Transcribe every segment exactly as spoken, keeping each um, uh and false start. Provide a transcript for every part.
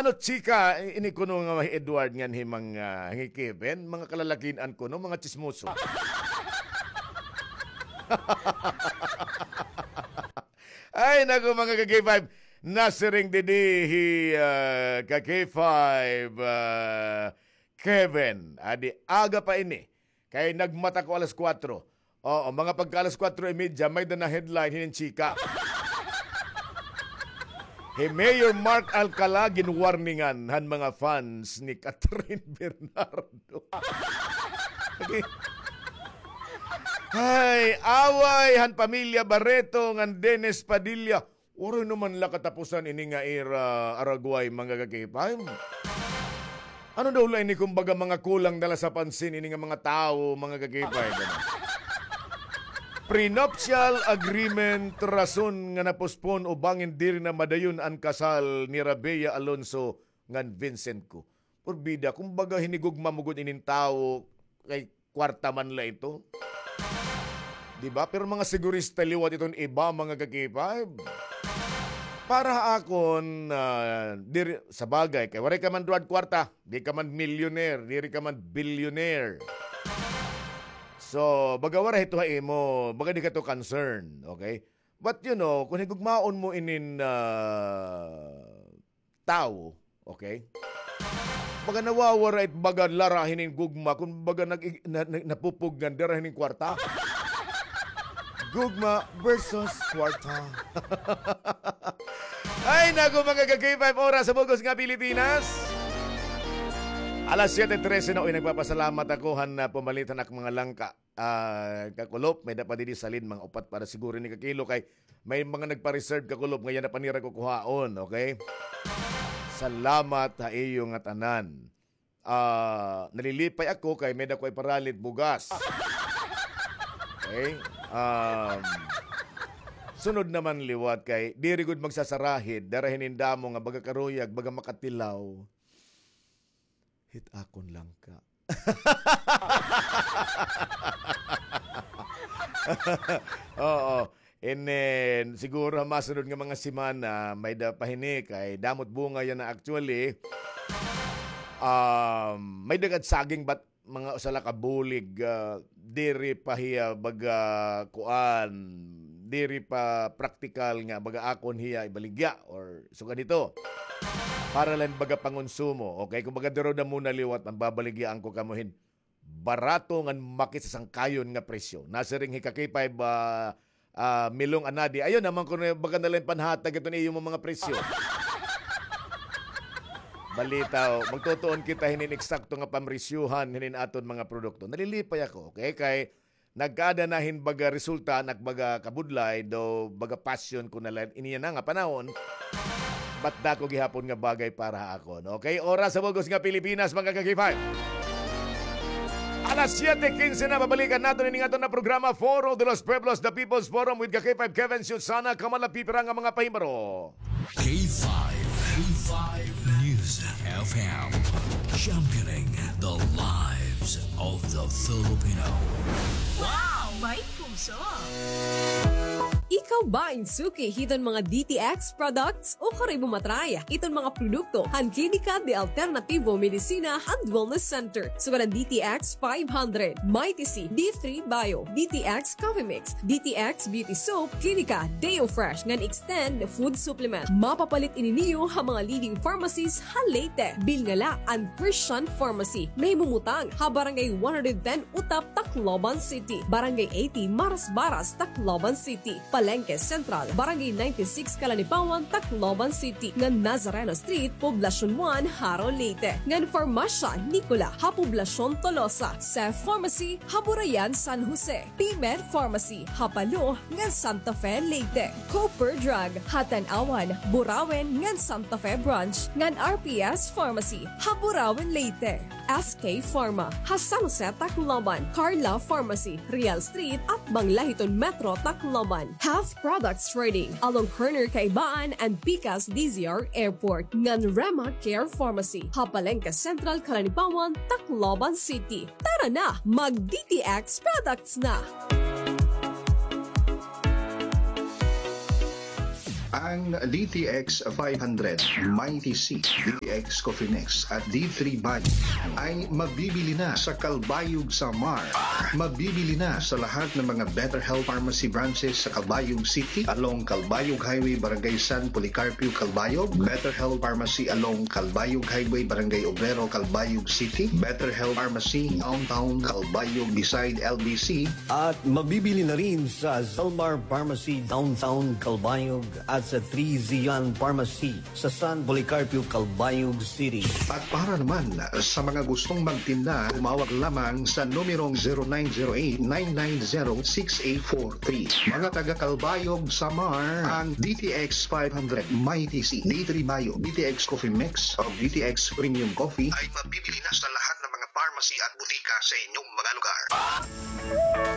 Ano chika, ini kuno nga hi Edward ngan hi Mang, ah, hi Kevin, mga kalalakin-an kuno, mga tsismoso. Ay, naku, mga ka-K five, nasiring didi hi, ah, ka-K five, ah, Kevin, adi aga pa ini. Kay nagmata ko alas kuwatro. Oo, mga pagka alas kuwatro y media, may-da na headline hinin chika. Hi Mayor Mark Alcala ginwarningan han mga fans ni Catherine Bernardo. Okay. Ay, away han pamilya Barreto ngan Dennis Padilla. Waray naman la katapusan ini nga ira aragway, mga ka-K five. Ano daw la ini, kumbaga, mga kulang na la sa pansin ini nga mga tawo, mga ka-K five, ano? Prenuptial agreement rason nga na-postpone o bangin diri na madayon an kasal ni Rabea Alonso ngan Vincent Co. Porbida, kumbaga, hinigugma man gud inin tawo kay kwarta man la ito. Di ba? Pero mga sigurista liwat iton iba, mga ka-K five. Para ha akon, ah, diri, sa bagay, kay waray ka man duwad kwarta, di ka man millionaire, diri ka man billionaire. So, baga waray ito ha imo, baga di ka to concern, okay? But, you know, kung higugmaon mo inin, ah, tawo, okay? Baga nawawara it baga lara hinin gugma, kun baga nag-, na-, na-, napupugngan dira hinin kwarta. Gugma versus kwarta. Ay, naku, mga ka-K five, oras sa bug-os nga Pilipinas. Alas siyete trese na, uy, nagpapasalamat ako han, ah, pumalit han ak mga langka. Ah, kakulop, may-da pa didi salin, mga upat para siguro ni kakilo, kay may mga nagpa-reserve, kakulop, nga yana pa nira kukuhaon, okay? Salamat ha iyo ngatanan. Ah, nalilipay ako kay may-da ko iparalit bugas. Okay? Um, sunod naman liwat kay diri gud magsasarahid, dara hinin damo nga baga karuyag, baga makatilaw. Hit akon langka. Oo. And then, siguro ha masunod nga mga semana, may-da pa hini kay damo it bunga yana actually. Um, may-da gad saging, but mga usa la ka bulig, ah, diri pa hiya baga kuan, diri pa praktikal nga baga akon hiya ibaligya or sugad hito. Para lang baga pangonsumo. Okay, kumbaga duro na muna liwat, an babaligyaan ko kamo hin barato ngan makit sa sangkayon nga presyo. Nasiring hi ka-K five, ah, ah, Milong Anadi. Ayaw naman kuno baga na lang panhatag iton iyo mga presyo. Balitaw, magtutuon kita hinin eksakto nga pamresyuhan hinin aton mga produkto. Nalilipay ako, okay? Kay nagkaada na hin baga resulta, an ak baga kabudlay, daw baga passion ko na la ini yana nga panahon. But dako gihapon nga bagay para ha akon. Okay, oras sa bug-os nga Pilipinas, mga ka-K five. Alas siyete kinse na, babalikan naton ini nga aton nga programa, Foro de los Pueblos, The People's Forum with ka-K five Kevin Susana, kamala pipira nga mga pahimaro. K five, K five News F M, championing the lives of the Filipino. Wow! May puso! Ikaw ba in suki hiton mga D T X products? O karay mo matry iton mga produkto han Klinika de Alternativo Medicina and Wellness Center. Sugad an D T X five hundred, Mighty C, D three Bio, D T X Coffee Mix, D T X Beauty Soap, Klinika Deo Fresh, ngan Extend Food Supplement. Mapapalit ini niyo ha mga leading pharmacies ha Leyte. Bilnga la an Christian Pharmacy. Nahimumutang ha Barangay one hundred ten Utap, Tacloban City. Barangay eighty Marasbaras, Tacloban City. Palengke Central, Barangay ninety-six Calanipawan, Tacloban City, ngan Nazareno Street, Poblacion one, Jaro, Leyte, ngan Farmasya Nicola ha Poblacion Tolosa, Cef Pharmacy ha Burayan, San Jose, P-Med Pharmacy ha Palo ngan Santa Fe, Leyte, Cooper Drug ha Tanauan, Burauen ngan Santa Fe Branch, ngan R P S Pharmacy ha Burauen, Leyte. S K Pharma ha San Jose, Tacloban, Carla Pharmacy, Real Street, atbang la hiton Metro Tacloban. Health Products Trading, along corner Kaibaan and Pikas D Z R Airport, ngan Rema Care Pharmacy ha Palengke Central, Calanipawan, Tacloban City. Tara na, mag D T X products na! Ang D T X five hundred, Mighty C, D T X Coffee Mix at D three Bio ay mabibili na sa Calbayog, Samar. Mabibili na sa lahat ng mga Better Health Pharmacy branches sa Calbayog City, along Calbayog Highway, Barangay San Policarpio, Calbayog, Better Health Pharmacy along Calbayog Highway, Barangay Obrero, Calbayog City, Better Health Pharmacy Downtown Calbayog beside L B C, at mabibili na rin sa Zalmar Pharmacy Downtown Calbayog at sa Three Zion Pharmacy sa San Policarpio, Calbayog City. At para naman sa mga gustong magtinda, tumawag lamang sa numerong zero nine zero eight, nine nine zero, six eight four three. Mga taga Calbayog, Samar, ang D T X five hundred, Mighty C, D three Bio, D T X Coffee Mix, o D T X Premium Coffee ay mabibili na sa lahat ng mga pharmacy at butika sa inyong mga lugar.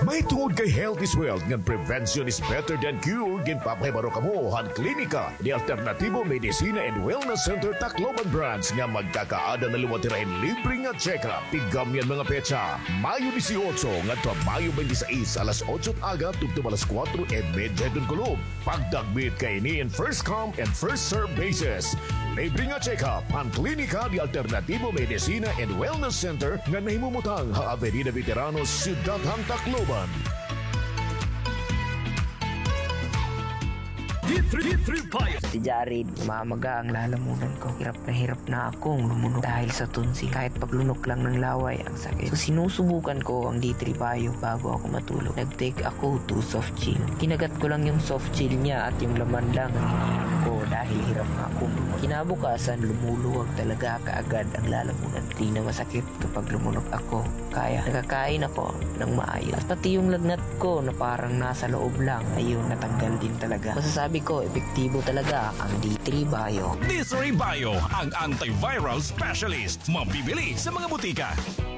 Mahitungod kay health is wealth ngan prevention is better than cure, ginpapahibaro kamo han Klinika de Alternativo Medicina and Wellness Center Tacloban Branch nga magkakaada na liwat hira hin libre nga check-up. Tigam niyan mga petsa, Mayo dieciocho ngadto ha Mayo twenty-six, alas otso it aga tubtob alas kuwatro y medya hiton kulop. Pagdagmit kaini in first come and first serve basis. Libre nga check-up han Klinika de Alternativo Medicina and Wellness Center nga nahimumutang ha Avenida Veteranos, Syudad han Tacloban. D three, D three Bio. Si Jared, mamaga ang lalamunan ko. Hirap na hirap na akong lumunok dahil sa tonsil. Kahit paglunok lang ng laway, ang sakit. So, sinusubukan ko ang D three Bio bago ako matulog. Nag-take ako two soft gel. Kinagat ko lang yung soft gel niya at yung laman lang ang iniinom ko dahil hirap na akong lumunok. Kinabukasan, lumuluwag talaga kaagad ang lalamunan. Di na masakit kapag lumunok ako. Kaya nakakain ako ng maayos. At pati yung lagnat ko na parang nasa loob lang, ayun, natanggal din talaga. Masasabi ko, epektibo talaga ang D three Bio. D three Bio, ang antiviral specialist. Mabibili sa mga butika.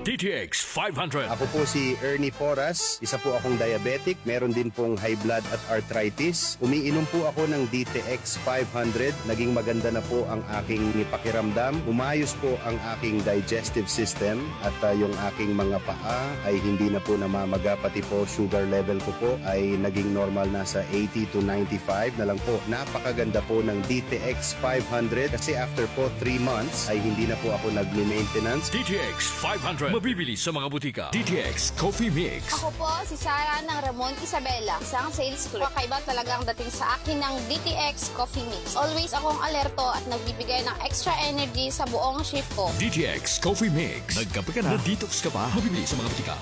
D T X five hundred. Ako po si Ernie Porras, isa po akong diabetic, meron din pong high blood at arthritis. Umiinom po ako ng D T X five hundred, naging maganda na po ang aking pakiramdam. Umayos po ang aking digestive system at, ah, yung aking mga paa ay hindi na po namamaga, pati po sugar level ko po ay naging normal, nasa eighty to ninety-five na lang po. Napakaganda po ng D T X five hundred kasi after po three months ay hindi na po ako nagme-maintenance. D T X five hundred, mabibili sa mga butika. D T X Coffee Mix. Ako po si Sarah ng Ramon Isabela, isang sales clerk. Kakaiba talaga ang dating sa akin ng D T X Coffee Mix. Always akong alerto at nagbibigay ng extra energy sa buong shift ko. D T X Coffee Mix. Nagkape ka na, na-detox ka pa. Mabibili sa mga butika.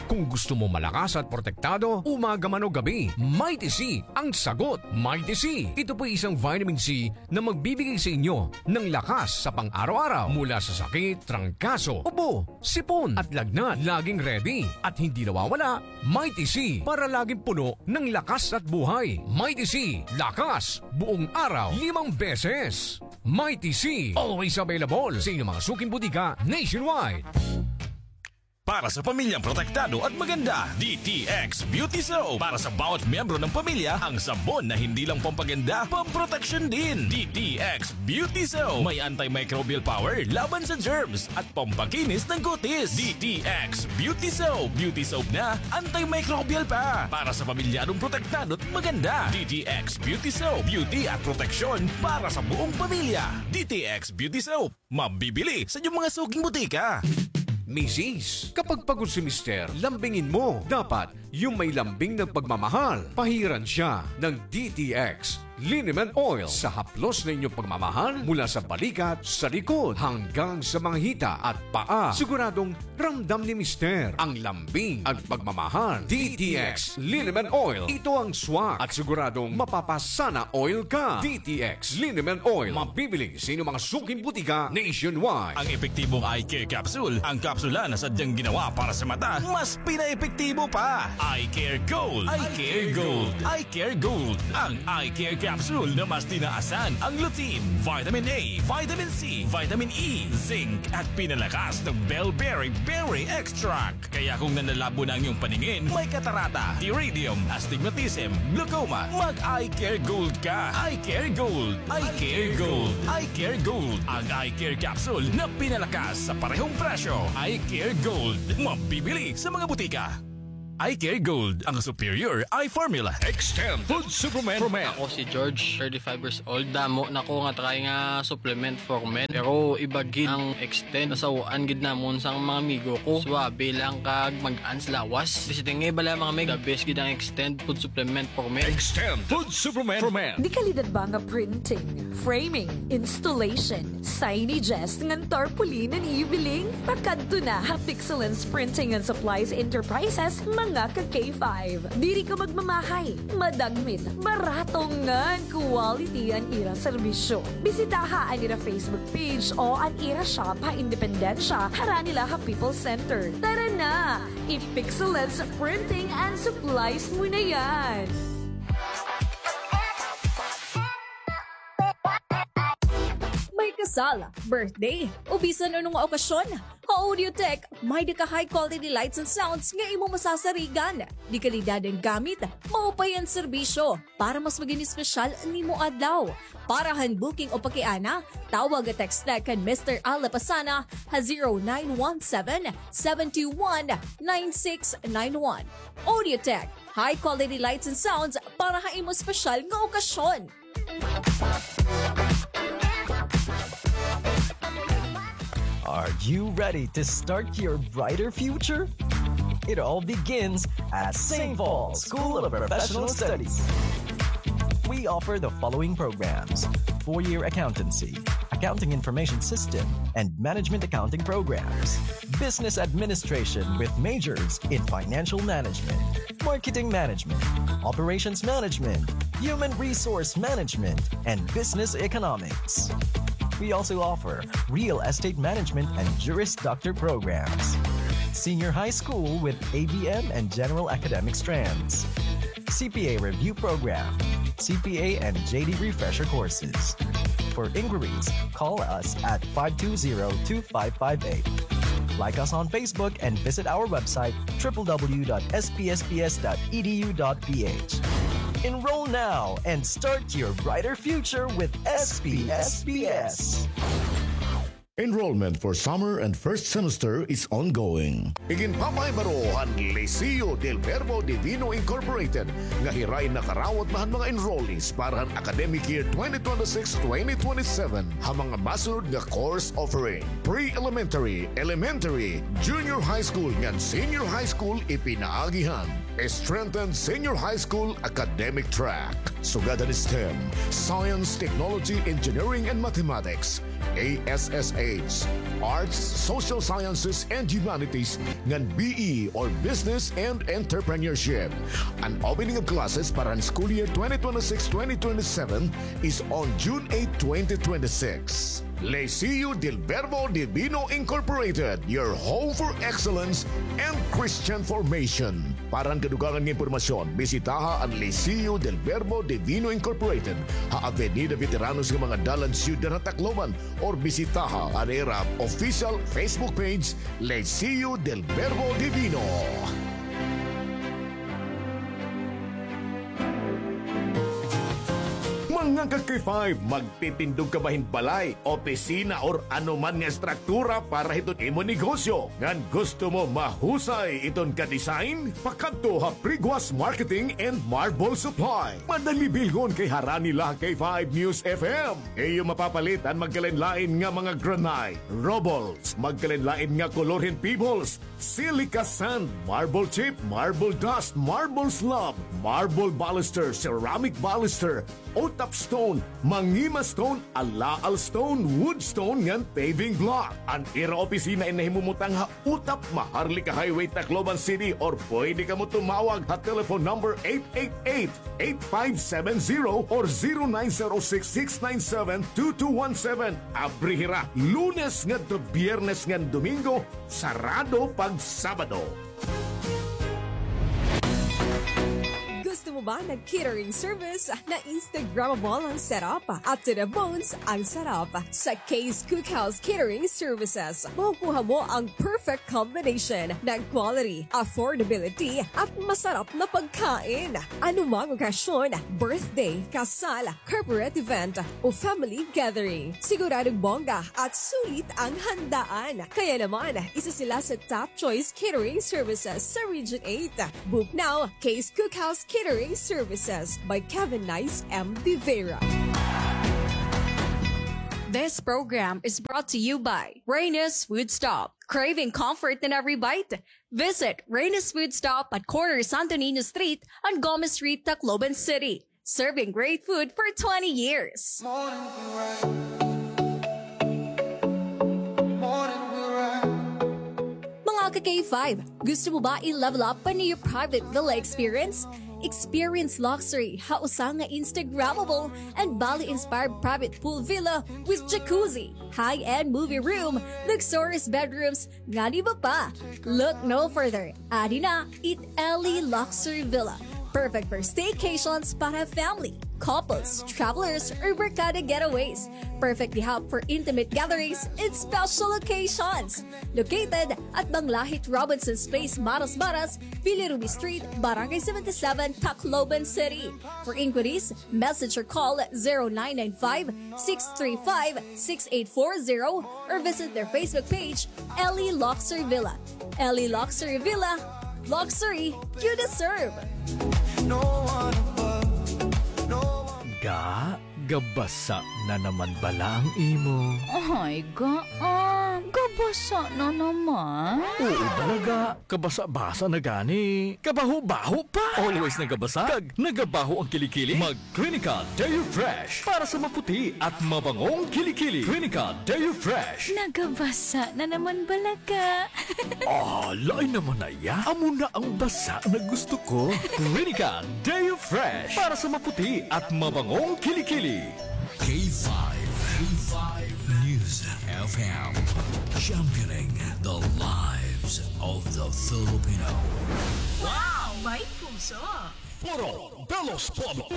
Kung gusto mo malakas at protektado, umaga man o gabi, Mighty C ang sagot. Mighty C. Ito po'y isang vitamin C na magbibigay sa inyo ng lakas sa pang-araw-araw mula sa sakit, trangkaso, ubo, sipon, at lagnat. Laging ready at hindi nawawala, Mighty C, para laging puno ng lakas at buhay. Mighty C, lakas buong araw, limang beses. Mighty C, always available sa inyong mga suking butika nationwide. Para sa pamilyang protektado at maganda, D T X Beauty Soap. Para sa bawat miyembro ng pamilya, ang sabon na hindi lang pampaganda, pamproteksyon din. D T X Beauty Soap. May antimicrobial power laban sa germs at pampakinis ng kutis. D T X Beauty Soap. Beauty soap na, antimicrobial pa. Para sa pamilyadong protektado at maganda. D T X Beauty Soap. Beauty at proteksyon para sa buong pamilya. D T X Beauty Soap. Mabibili sa inyong mga suking butika. Misis, kapag pagod si Mister, lambingin mo. Dapat yung may lambing ng pagmamahal. Pahiran siya ng D T X Liniment Oil sa haplos na inyong pagmamahal, mula sa balikat, sa likod, hanggang sa mga hita at paa. Siguradong ramdam ni Mister ang lambing at pagmamahal. D T X Liniment Oil. Ito ang swak at siguradong mapapasana oil ka. D T X Liniment Oil. Mabibili sa inyong mga suking butika nationwide. Ang epektibong eye care capsule, ang kapsula na sadyang ginawa para sa mata, mas pinaepektibo pa. Eye Care Gold. Eye Care Gold. Eye Care Gold. Ang Eye Care Capsule na mas tinaasan ang lutein, vitamin A, vitamin C, vitamin E, zinc, at pinalakas ng bellberry berry extract. Kaya kung nanlalabo na ang iyong paningin, may katarata, iridium, astigmatism, glaucoma, mag-Eye Care Gold ka. Eye Care Gold. Eye Care Gold. Eye Care Gold. Ang Eye Care Capsule na pinalakas sa parehong presyo. Eye Care Gold. Mabibili sa mga butika. Eye Care Gold, ang superior eye formula. Extend Food Supplement for Men. Ako si George, thirty-five years old. Damo na ko nga try nga supplement for men. Pero iba gid ang Extend. Nasaw-an gid namon sang mga amigo ko. Suabe lang kag mag-ans lawas. Bisita nga bala mga meg, the best gid ang Extend Food Supplement for Men. Extend Food Supplement for Men. Dekalidad ba nga printing, framing, installation, signages ngan tarpaulin an ibiling? Pakadto na ha Pixelance Printing and Supplies Enterprises, mga ka K five. Diri ka magmamahay, madagmit, barato ngan quality an ira serbisyo. Bisitaha an ira Facebook page o an ira shop ha Independencia, harani la ha People's Center. Tara na! I-Pixelance Printing and Supplies mo na yan! May kasal, birthday, o bisan ano nga okasyon, ha Audiotech, may-ada ka high quality lights and sounds nga imo masasarigan. Dekalidad an gamit, maupay an serbisyo, para mas magin espesyal an imo adlaw. Para han booking o pakiana, tawag o text na kan Mister Al Lapasana ha zero nine one seven, seven two one, nine six nine one. Audiotech, high quality lights and sounds para ha imo espesyal nga okasyon. Are you ready to start your brighter future? It all begins at Saint Paul School of Professional Studies. We offer the following programs: four-year accountancy, accounting information system, and management accounting programs. Business administration with majors in financial management, marketing management, operations management, human resource management, and business economics. We also offer real estate management and Juris Doctor programs. Senior high school with A B M and general academic strands. C P A review program, C P A and J D refresher courses. For inquiries, call us at five two zero, two five five eight. Like us on Facebook and visit our website, triple W dot S P S P S dot E D U dot P H. Enroll now and start your brighter future with S P S P S. Enrollment for summer and first semester is ongoing. Iginpapahibarohan Liceo del Verbo Divino Incorporated nga hiray nakarawat na han mga enrollees para han academic year twenty twenty-six twenty twenty-seven ha mga masunod nga course offering: pre-elementary, elementary, junior high school ngan senior high school ipinaagi han strengthened senior high school academic track. Sugad han STEM, Science, Technology, Engineering, and Mathematics, A S S H, Arts, Social Sciences, and Humanities, ngan B E or Business and Entrepreneurship. An opening of classes para han school year twenty twenty-six twenty twenty-seven is on June eight, twenty twenty-six. Liceo del Verbo Divino Incorporated, your home for excellence and Christian formation. Para han kadugangan nga impormasyon, bisitaha an Liceo del Verbo Divino Incorporated ha Avenida Veteranos nga mga dalan, Syudad ha Tacloban, or bisitaha an ira official Facebook page, Liceo del Verbo Divino. Mga ka-K five, magtitindog ka ba hin balay, opisina, or ano man nga estruktura para hiton imo negosyo? Ngan gusto mo mahusay iton ka-design? Pakadto ha Priguas Marketing and Marble Supply. Madali bilngon kay harani la ha K five News F M. Iyo mapapalit an magkalain-lain nga mga granite, rubbles, magkalain-lain nga kolor hin pebbles, silica sand, marble chip, marble dust, marble slab, marble baluster, ceramic baluster, utap stone, mangima stone, alaal stone, wood stone, ngan paving block. An ira opisina in nahimumutang ha Utap, Maharlika Highway, Tacloban City, or pwede kamo tumawag ha telephone number eight eight eight, eight five seven zero or zero nine zero six, six nine seven, two two one seven. Abri hira Lunes ngadto Biyernes ngan Domingo, sarado pag Sabado. Gusto Mo ba nag-catering service na Instagrammable ang setup at to the bones ang sarap? Sa Kay's Cookhouse Catering Services, makukuha mo ang perfect combination ng quality, affordability, at masarap na pagkain. Anumang okasyon, birthday, kasal, corporate event, o family gathering, siguradong bongga at sulit ang handaan. Kaya naman, isa sila sa top choice catering services sa Region eight. Book now, Kay's Cookhouse Catering Services by Kevin Nice M. De Vera. This program is brought to you by Reyna's Food Stop. Craving comfort in every bite? Visit Reyna's Food Stop at corner Santo Niño Street and Gomez Street, Tacloban City. Serving great food for twenty years. Mga ka-K five, gusto mo ba i-level up pa an iyo private villa experience? Experience luxury ha usa nga Instagrammable and Bali-inspired private pool villa with jacuzzi, high-end movie room, luxurious bedrooms, ngan iba pa. Look no further. Adi na it Ellie Luxury Villa. Perfect for staycations para family, couples, travelers, or barkada getaways. Perfect diha for intimate gatherings and special occasions. Located at Banglahit Robinson's Place, Maras Maras, Villa Ruby Street, Barangay seventy-seven, Tacloban City. For inquiries, message or call zero nine nine five, six three five, six eight four zero or visit their Facebook page, Ellie Luxury Villa. Ellie Luxury Villa, luxury you deserve. Ga, gabasa na naman bala ang imo? Ay, ga, ah, gabasa na naman. Oo, bala ga, kabasa-basa na gani. Kabaho-baho pa. Always nagabasa, kag nagabaho ang kilikili. Mag Clinical Deo Fresh para sa maputi at mabangong kilikili. Clinical Deo Fresh. Nagabasa na naman bala ga. Ah, lain naman na iya. Amo na ang basa na gusto ko. Clinical Deo Fresh para sa maputi at mabangong kilikili. K five, K five News F M, championing the lives of the Filipino. Wow! May puso! Foro de los Pueblos.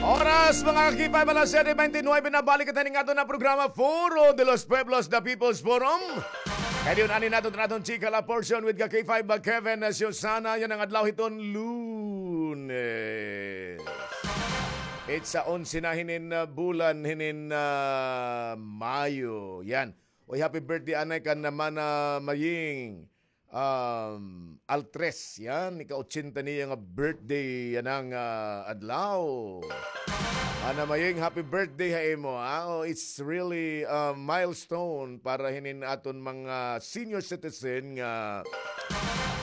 Oras, mga ka-K five, alas siyete bente nuwebe na. Balik kita ning aton na programa, Foro de los Pueblos, The People's Forum. Kay diyon, ani naton, aton chika la portion with ka-K five, Kevin, uh, Susana, yana nga adlaw hiton Lunes. It's sa onse na hinin, uh, bulan, hinin, uh, Mayo. Yan. Uy, happy birthday, anay, kan Mana Maying. Um, Altres, yan, ika-ochenta niya nga birthday yana nga, ah, adlaw. Mana Maying, happy birthday ha imo, ha? Oh, it's really a milestone para hinin aton mga senior citizen nga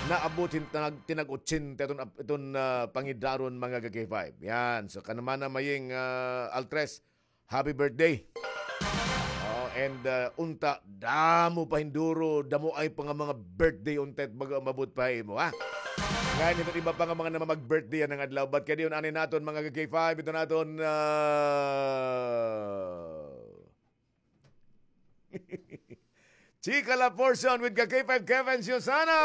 naabot hin tinag-, tinag-ochenta iton, iton, ah, pangidaron, mga ka-K five. Yan, so kan Mana Maying, ah, Altres, happy birthday. Oh, and, uh, unta, damo pa hin duro, damo ay pa nga mga birthday unta it baga umabot pa ha imo, ha? Ngan hiton iba pa nga mga naman mag-birthday yana nga adlaw. But kay diyon, ani naton, mga ka-K five, iton aton, uh, Chika la portion with ka-K five Kevin Susana.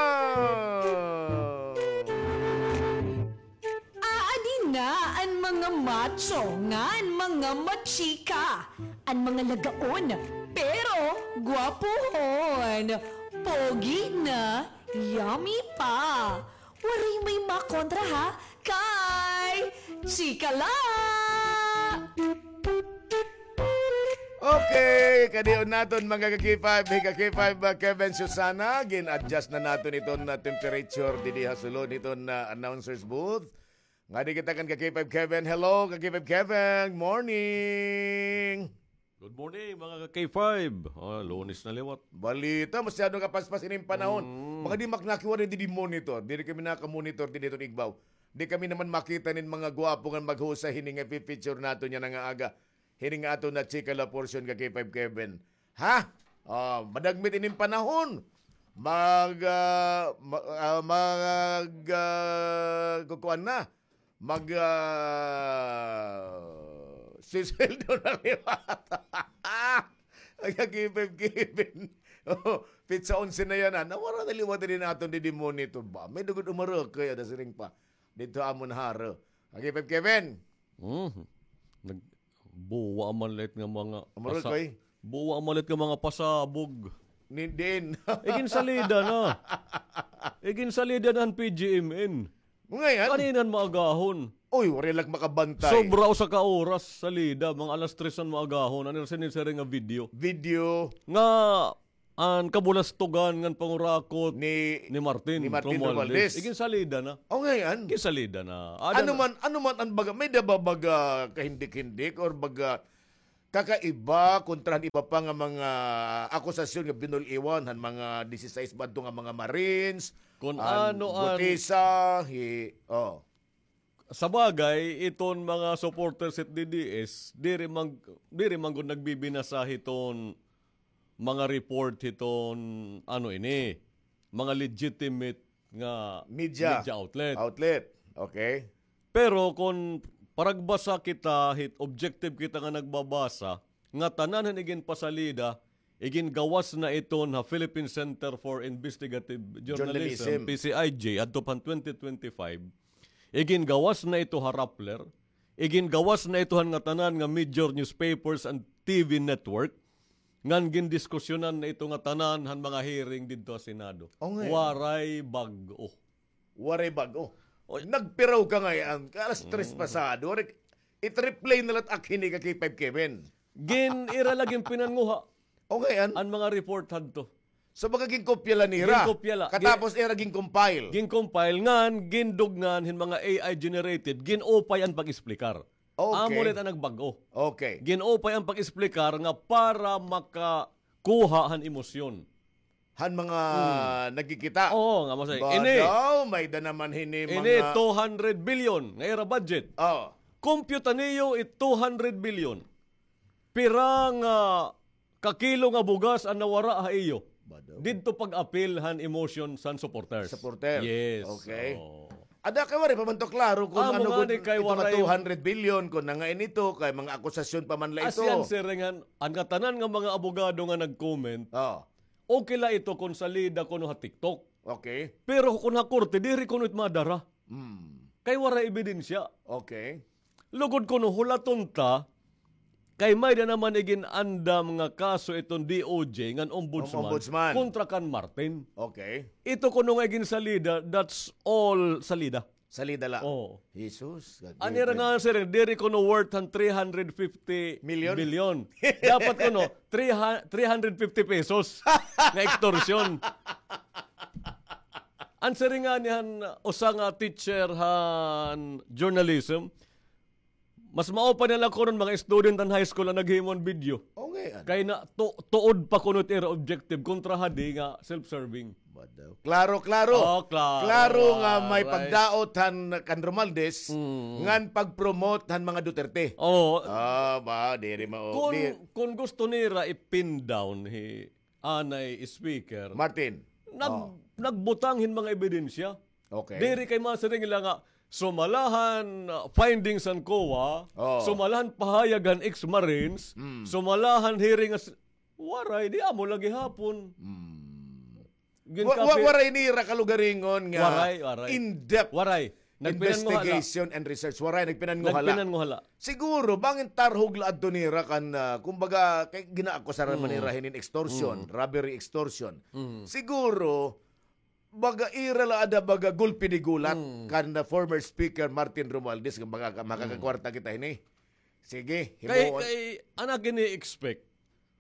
Aadi na an mga macho ngan mga machika, an mga lagaon, pero gwapohon, pogi na, yummy pa. Waray may makontra, ha, kay chika la! Okay, kadion naton, mga ka-K five, hi ka-K five, uh, Kevin Susana, gin-adjust na naton iton, uh, temperature didi ha sulod hiton, uh, announcer's booth. Ngadi kita kan ka-K five Kevin. Hello, ka-K five Kevin. Morning. Good morning, mga ka-K five. Ah, Lunes na liwat. Balita, masyado kapaspas ini nga panahon. Mm. Baka di maknakiwa didi monitor. Diri kami naka-monitor didi hiton igbaw. Di kami naman makita nin mga gwapo nga maghusay hini nga ipi-feature naton yana nga aga. Hini nga aton na chika la portion, ka-K five Kevin. Ha? Ah, madagmit ini nga panahon. Mag, ah, ma-, ah, mag, ah, kukuan na. Mag, ah, sisweldo na liwat. Nagkakipin-kipin. Oh, petsa onse na yana. Nawara na liwat ini naton didi monitor ba? May dugod umarok kaya da siring pa. Didto amon haro. Agi, Five Kevin. Mhm. Nag-, buwa man lit nga mga Umurol pasa-, koy. Buwa man lit nga mga pasabog. Ni-, diin. Iginsalida na. Iginsalida na han P G M N. Ngay-an. Kanina han maagahon. Uy, waray la makabantay. Sobra usa ka oras salida, mga alas tres han maagahon. Ano siya ni siring nga video? Video. Nga an kabulastogan ngan pangurakot ni, ni Martin, ni Martin Romualdez. Romualdez. Iginsalida na. O, ngay-an. Iginsalida na. Ada na. Ano man, ano man an baga, may-ada ba baga kahindik-hindik or baga kakaiba kontra han iba pa nga mga akusasyon nga binul-iwan han mga disisais ba adto nga mga Marines, kun an ano an Gutesa, hi, oh. Sa bagay, iton mga supporters hit D D S, diri man, diri man gud nagbibinasa hiton mga report hiton, ano ini, mga legitimate nga media, media outlet. Outlet. Okay. Pero kon paragbasa kita, hit objective kita nga nagbabasa, nga tanan han iginpasalida, igingawas na iton ha Philippine Center for Investigative Journalism, Journalism. P C I J, adto pa han twenty twenty-five. Igingawas na ito ha Rappler. Igingawas na ito han ngatanan nga major newspapers and T V network. Ngan gindiskusyonan na ito ngatanan han mga hearing didto ha Senado. O, ngay-an. Waray bag-o. Waray bag-o. Oy. Nagpiraw ka ngay-an. Alas tres pasado. Waray, i-replay na la it ak hini ka K five Kevin. Gin-ira la ginpinanguha. O, ngay-an. An mga report hadto. So, baga ginkopya la nira. Ginkopya la. Katapos ira gincompile. Gincompile ngan, gindugngan hin mga A I generated, gin-upay an pag-explicar. Okay. Amo la it an nagbag-o. Okay. Gin-upay an pag-explicar nga para makakuha han emosyon han mga nagkikita. Oo, nga masay. Ba daw, may-ada naman hini mga ini two hundred billion nga ira budget. Oh. Kompyuta niyo it two hundred billion. Pira nga kakilo nga bugas an nawara ha iyo? Ba daw. Didto pag-apil han emotion san supporters. Supporter. Yes. Okay. Oo. Ada kay waray pa man to klaro kon ano gud ito nga two hundred billion, kon nangain ito, kay mga akusasyon pa man la ito. As yan, sir, nga, an ngatanan nga mga abogado nga nag-comment, okay la ito kon salida kuno ha TikTok. Okay. Pero kon ha korte, diri kuno it madara. Hmm. Kay waray ebidensya. Okay. Lugod kuno hulaton ta, kay may-ada naman igin-andam nga kaso iton D O J ngan ombudsman, ombudsman, kontra kan Martin. Okay. Ito kuno nga iginsalida, that's all salida. Salida la. Oo. Jesus. An ira nga siring, diri kuno worth han three hundred fifty million. Million. Dapat kuno, three hundred fifty pesos nga extortion. An siring ngani han usa nga teacher han journalism, mas maupay na la kuno mga student han high school an naghimo han video. O, ngay-an. Kay na, tu-, tuod pa kuno it ira objective kontra hadi nga self-serving. Ba daw. Klaro, klaro. Oh, klaro. Klaro nga may pagdaot han kan Romualdez ngan pag-promote han mga Duterte. Oo. Ah, ba, diri mao. Kon, kon gusto nira i-pin down hi anay speaker. Martin. Nag-, nagbutang hin mga ebidensya. Okay. Diri kay masiring la nga sumala han, uh, findings han COA, sumala han pahayag han ex-Marines, sumala han hearing as, waray, di amo la gihapon. Wa-, wa-, waray nira kalugaringon nga in-depth investigation and research. Waray, nagpinanguha la. Waray. Nagpinanguha la. Siguro, bangin tarhog la adto nira kan, ah, kumbaga, kay ginaakusaran man nira hinin extortion, robbery extortion. Siguro, baga ira la ada baga gulpi di gulat kan former speaker Martin Romualdez nga baga makakakwarta kita hini. Sige, himuon. Kay, kay, an ak ini-expect,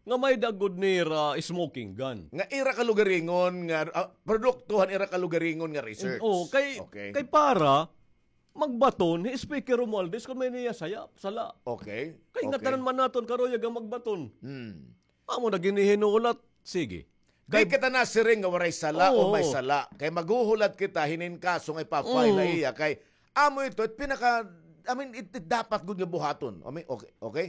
nga may-ada gud nira smoking gun. Nga ira kalugaringon nga, ah, produkto han ira kalugaringon nga research. Oo, kay, kay para magbaton hi Speaker Romualdez kon may-ada niya saya, sala. Okay. Kay ngatanan man naton karuyag nga magbaton. Hmm. Amo na ginihinulat, sige. Di kita nasiring nga waray sala o may sala. Kay maghuhulat kita hinin kaso nga ipa-file ha iya. Kay amo ito, it pinaka, I mean, it, it dapat gud nga buhaton. I mean, okay, okay.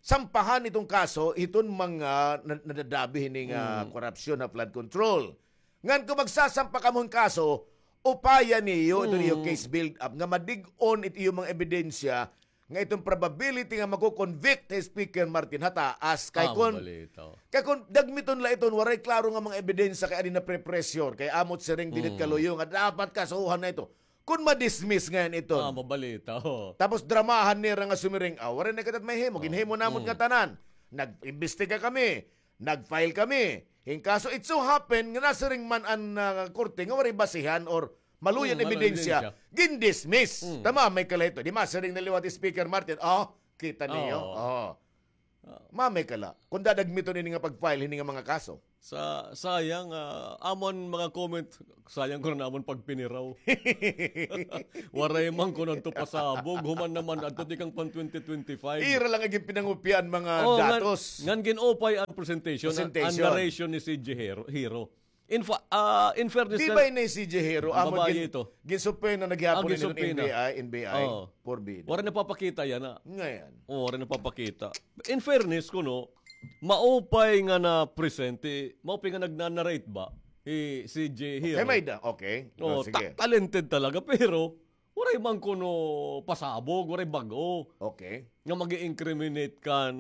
Sampahan iton kaso, iton mga na-, nadadabi hini nga korupsyon ha flood control. Ngan kon magsasampa kamo hin kaso, upaya niyo iton iyo case build up nga madig-on it iyo mga ebidensya nga iton probability nga mako-convict hi Speaker Martin ha taas. Kay kon, kay kon dagmiton la iton waray klaro nga mga ebidensya kay adi na pre-pressure, kay amo it siring dinhi it kaluyo nga dapat kasuhan na ito. Kun ma-dismiss ngay-an iton. Ah, mabalita, oo. Tapos dramahan nira nga sumiring, ah, waray na kita mahimo, ginhimo namon nga tanan. Nag-imbestiga kami, nag-file kami hin kaso. It so happen nga nasiring man an, ah, korte nga waray basihan or maluya nga ebidensya, gin-dismiss. Tama, may kalahito. Di masiring na liwat Speaker Martin, oh, kita niyo. Oh. Mamay ka la, kun dadagmiton ini nga pag-file hini nga mga kaso. Sa, sayang, ah, amon mga comment, sayang kuno amon pagpiniraw. Waray man kuno adto pasabog, human naman adto tikang pan twenty twenty-five. Ira lang an ginpinangupian mga datos. Ngan gin-upay an presentation, an narration ni C J Hero. In fa-, ah, in fairness, di ba ini si Jihiro? Amo gin-, ginsubpoena na gihapon ini hin N B I, N B I. Waray napapakita yana. Ngay-an. Oo, waray napapakita. In fairness kuno, maupay nga na-present, eh, maupay nga nagna-narrate ba? Eh, si Jihiro. Okay, may da. Okay. Oo, sige. Ta-, talented talaga, pero waray man kuno pasabog, waray bag-o. Okay. Nga mag-i-incriminate kan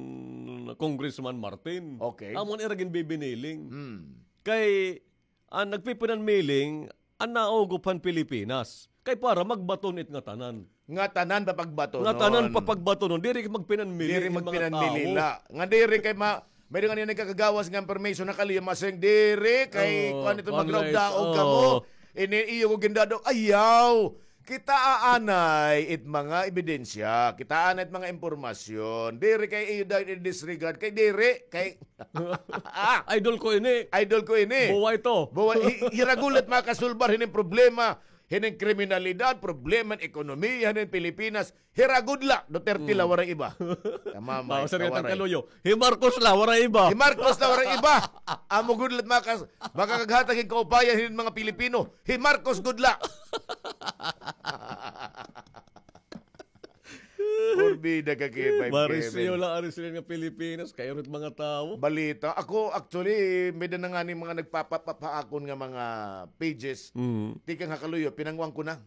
Congressman Martin. Okay. Amo an ira ginbibiniling. Hmm. Kay, an nagpipinanmiling, an naugop han Pilipinas. Kay para magbaton it ngatanan. Ngatanan papagbatonon. Ngatanan papagbatonon. Diri magpinanmili. Diri magpinanmili la. Nga diri kay ma-, may nga niya nagkakagawas nga information na kaliya masing diri kay kuan ito magraw daog kamo. Ini iyo ko gindado. Ayaw. Kita aanay it mga ebidensya, kita aanay it mga impormasyon. Diri kay iyo dayon i-disregard, kay diri, kay idol ko ini. Idol ko ini. Buwa ito. Buwa, hi-, hiragod la it makasulbar hining problema, hining kriminalidad, problema hin ekonomiya hining Pilipinas. Hiragod la, Duterte la, waray iba. Tama, may kaluyo. Hi Marcos la, waray iba. Hi Marcos la, waray iba. Amo gud la it makas-, makakaghatag hin kaupayan hining mga Pilipino. Hi Marcos gud la. Porbida ka, K five K. Marisyo la, ari sila nga Pilipinas, kay urot mga tawo. Balita. Ako, actually, may da na nga ni mga nagpapapapakon nga mga pages. Mm. Tikang ha kaluyo, pinanguan ko na.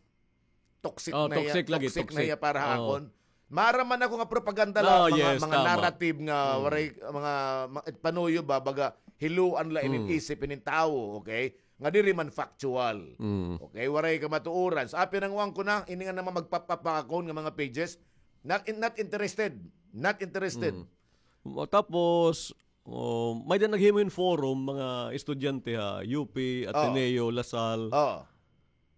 Toxic na iya, toxic lagi, toxic na iya para ha akon. Mara man ako nga propaganda la, mga, mga narrative nga waray, mga, ma-, panuyo ba, baga, hiluan la inin isip inin tawo, okay? Nga diri man factual. Okay, waray kamatuoran. Sa apin ang uwang ko na, ini nga naman magpapapakon nga mga pages, not in-, not interested. Not interested. Tapos, oh, may da naghimo hin forum, mga estudyante ha U P, Ateneo, La Salle.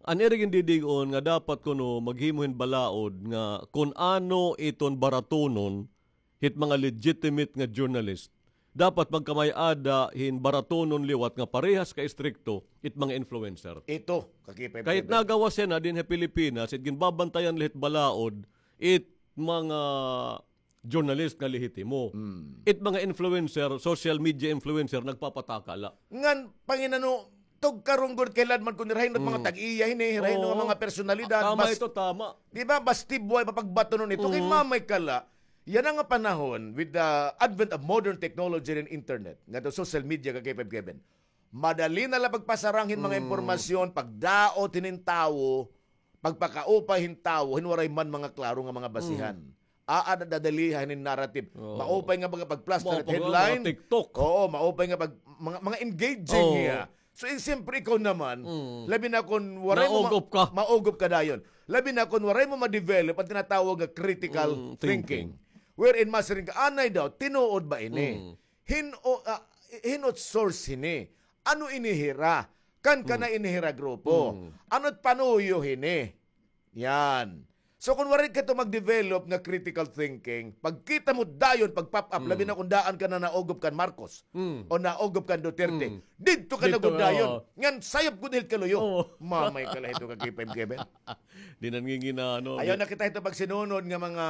An ira gindidig-on nga dapat kuno maghimo hin balaod nga kun ano iton baratonon hit mga legitimate nga journalist. Dapat magkamay-ada hin baratonon liwat nga parehas ka istrikto it mga influencer. Ito, kakipay. Kay it nagawas yana dinhi ha Pilipinas, it ginbabantayan la hit balaod, it mga journalist nga lehitimo. It mga influencer, social media influencer, nagpapataka la. Ngan, panginano, tugkarong gud kay ladman kun hirahin nga mga tag-iya hini, hirahin nga mga personalidad. Tama ito, tama. Di ba, basti buhay papagbatonon ito. Kay mamay ka la, yana nga panahon, with the advent of modern technology and internet, nga to social media, ka K five Kevin, madali na la pagpasarang hin mga impormasyon, pagdaot hinin tawo, pagpakaupay hin tawo, hin waray man mga klaro nga mga basihan. Aada dadaliha hinin narrative. Oo. Maupay nga mga pagplaster hit headline. Mga TikTok. Oo, maupay nga pag-, mga, mga engaging niya. So, eh, siyempre, ikaw naman, labi na kun waray mo ma-, maugop ka dayon. Labi na kun waray mo ma-develop an tinatawag nga critical thinking. Wherein, masiring ka, anay daw, tinuod ba ini? Hin-o, ah, hin-o source hini? Ano ini hira? Kan kana ini hira grupo? Ano it panuyo hini? Yan. So, kun waray ka to mag-develop nga critical thinking, pagkita mo dayon, pag-pop up, labi na kun daan ka na naugop kan Marcos o naugop kan Duterte, didto ka na gud dayon. Ngan sayop gud hit kaluyo. Mamay ka la hito ka K five Kevin. Di na ngingina, ano, ayaw na kita hito pagsinunod nga mga,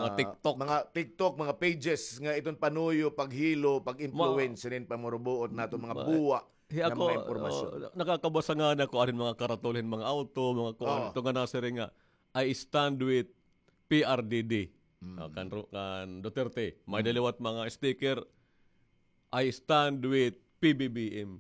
mga TikTok, mga TikTok, mga pages nga iton panuyo, paghilo, pag-influence hinin pamurubuot naton mga buwa nga mga impormasyon. Nakakabasa nga na ko arin mga karatol hin mga auto, mga kuan, ito nga nasiring nga, "I stand with P R D D." Ah, kan Ru-, kan Duterte. May da liwat mga sticker, "I stand with P B B M."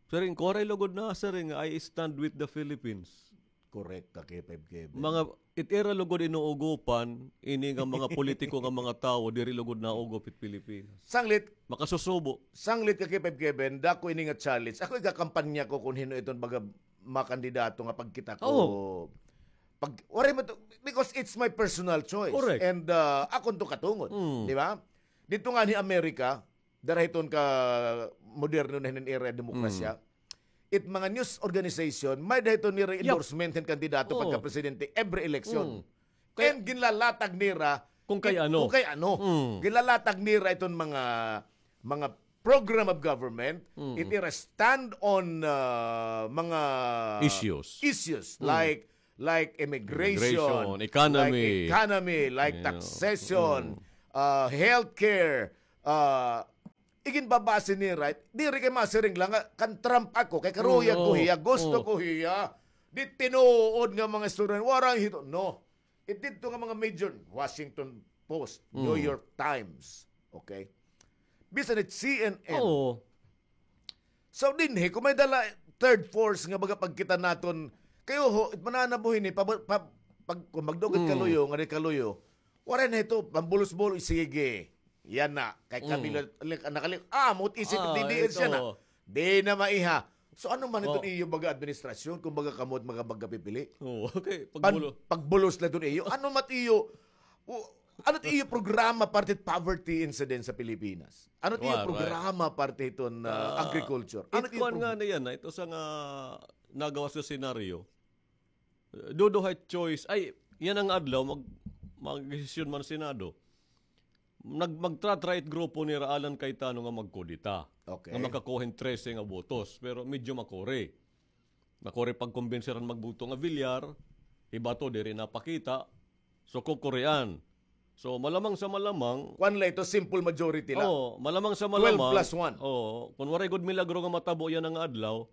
Siring ko, waray lugod nasiring nga, "I stand with the Philippines." Correct ka, K five Kevin. Mga, it ira lugod inuugopan, ini nga mga politiko nga mga tawo, diri lugod naugop it Pilipinas. Sanglit. Makasusubo. Sanglit ka, K five Kevin, dako ini nga challenge. Ako igakampanya ko kun hin-o iton baga makandidato nga pagkita ko. Oo. Pag, waray man to, because it's my personal choice. Correct. And, ah, akon to katungod. Mm. Di ba? Dito nga ni Amerika, dara hiton ka moderno na hin era demokrasya. Mm. It mga news organization, may-ada hiton nira endorsement hin kandidato pagka presidente every election. Mm. Kay And ginlalatag nira kung kay ano. Kung kay ano. Mm. Ginlalatag nira iton mga, mga program of government, it ira stand on, ah, mga issues. Issues like, like immigration, immigration, economy, like economy, like taxation, ah, healthcare, ah, iginbabase nira, diri kay masiring la nga kan Trump ako, kay karuya ko hiya, gusto ko hiya. Di tinuod nga mga istorya, waray hito. No. It didto nga mga major, Washington Post, New York Times, okay? Bisan it C N N. Oo. So, dinhi, kung may dala third force nga baga pagkita naton, kayo ho, it mananabuhi ni, pa, pa, pag, kung magdugit kaluyo, nga di kaluyo, waray na ito, pambulos-bulos, sige. Yana, kay kami la, la, nakali-, ah, mot isip, ah, D D S yana. Di na maiha. So, ano man iton iyo baga administrasyon, kung baga kamot mga baga pipili? Oo, okay. Pagbulo-, pagbulos la iton iyo. Ano mat iyo, o, ano it iyo programa parte hit poverty incidence sa Pilipinas? Ano it iyo programa parte hiton, ah, agriculture? Ano it iyo kuan nga na yana, ito sa nga nagawas nga senaryo. Duduha it choice. Ay, yana nga adlaw, mag-, magdesisyon man Senado. Nag-, magtra-try it grupo nira Alan Cayetano nga magkudeta. Okay. Nga makakuha hin trese nga botos, pero medyo makuri. Makuri pagkumbinsiran magbuto nga Villar, hi Bato diri napakita. So, kukurian. So, malamang sa malamang, kuan la ito, simple majority la. Oo, malamang sa malamang. Twelve plus one. Oo, kun waray gud milagro nga matabo yana nga adlaw,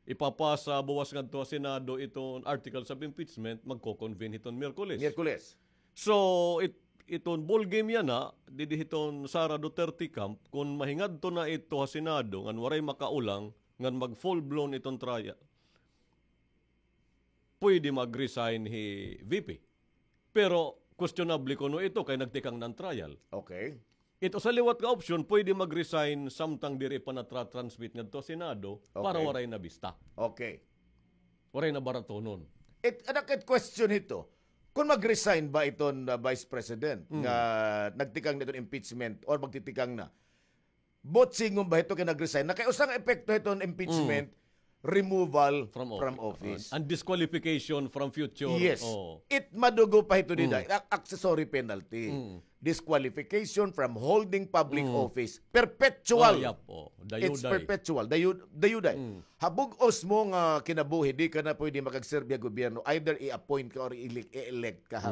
ipapasa buwas ngadto ha Senado iton articles of impeachment, magko-convene hiton Miyerkules. Miyerkules. So, it-, iton ball game yana, didi hiton Sara Duterte camp, kun mahingadto na ito ha Senado, ngan waray makaulang, ngan mag full-blown iton trial, pwede mag-resign hi V P. Pero questionable kuno ito kay nagtikang na an trial. Okay. Ito sa liwat nga option, pwede mag-resign samtang diri pa natra-transmit ngadto ha Senado para waray na bista. Okay. Waray na baratonon. It, anak, it question hito, kung mag-resign ba iton, uh, Vice President nga nagtikang na iton impeachment or magtitikang na, botsingon ba hito kay nag-resign na? Kay usa nga epekto hiton impeachment, removal from office. And disqualification from future. Yes. It madugo pa hito dida. Ac-, accessory penalty. Disqualification from holding public office. Perpetual. It's perpetual. Dayu-, dayuday. Ha bug-os mo nga kinabuhi, di ka na pwede makagserbi ha gobyerno. Either i-appoint ka or i-elect, i-elect ka ha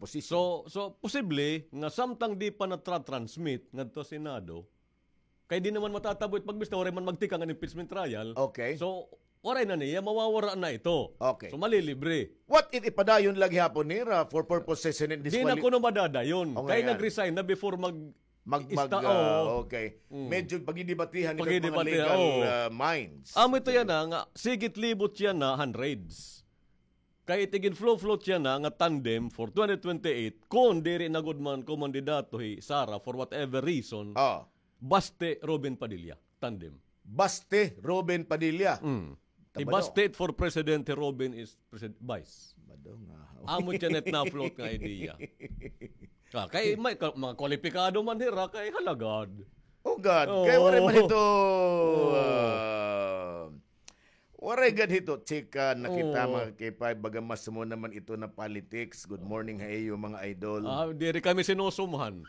posisyon. So, so, posible nga samtang di pa natra-transmit ngadto ha Senado, kay di naman matatabo it pagbista, waray man magtikang an impeachment trial. Okay. So, waray na niya, mawawara na ito. Okay. So, malilibre. What if ipadayon la gihapon nira for purposes hin disquali-, di na kuno madadayon. Kay nag-resign na before mag-, mag-, ista, ah, okay. Medyo pagdidebatihan ito mga legal, ah, minds. Amo ito yana nga, sigit libot yana hundreds. Kay it igin-flow-float yana nga tandem for twenty twenty-eight, kon diri na gud man kumandidato hi Sara for whatever reason, baste Robin Padilla, tandem. Baste Robin Padilla. Hi baste it for president, hi Robin is presid-, vice. Amo it yana it na-float nga idea. Ah, kay may ka-, mga kwalipikado man hira, kay halagad. Oh God, kay waray man hito, ah, waray gad hito, chika na kita, mga K five, baga mas mo naman ito na politics. Good morning ha iyo, mga idol. Ah, diri kami sinusumhan.